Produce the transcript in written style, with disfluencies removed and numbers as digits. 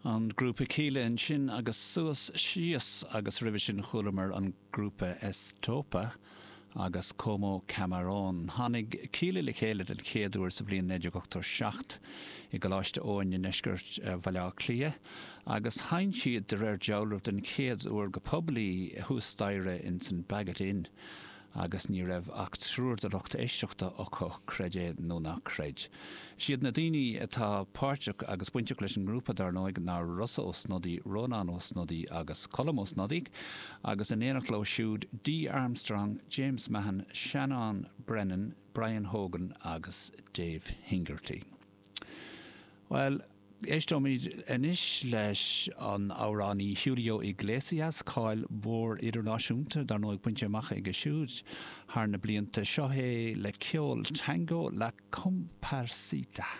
An grúpa Kíla ansin agus Suas Síos agus roimhe sin chualamar an grúpa Estopa agus Como Camarón. Tháinig Kíla le chéile den chéad uair sa bhliain 1987 i gColáiste Eoin i ndeisceart Bhaile Átha Cliath agus sheinn siad de réir dealraimh den chéad uair go poiblí thuas staighre insan Baggot Inn agus ní raibh ach triúr de lucht éisteachta acu, creid é nó ná creid. Is iad na daoine atá páirteach agus bainteach leis an ngrúpa, dar ndóigh, ná Rossa Ó Snodaigh, Rónán Ó Snodaigh agus Colm Ó Snodaigh, agus in éineacht leo siúd, Dee Armstrong, James Mahon, Seanán Brennan, Brian Hogan agus Dave Hingerty. Bhuel, éisteoimid anois leis an amhránaí Julio Iglesias, cáil mhór idirnáisiúnta, dar ndóigh, bainte amach aige siúd thar na blianta. Seo é le ceol tango La Cumparsita.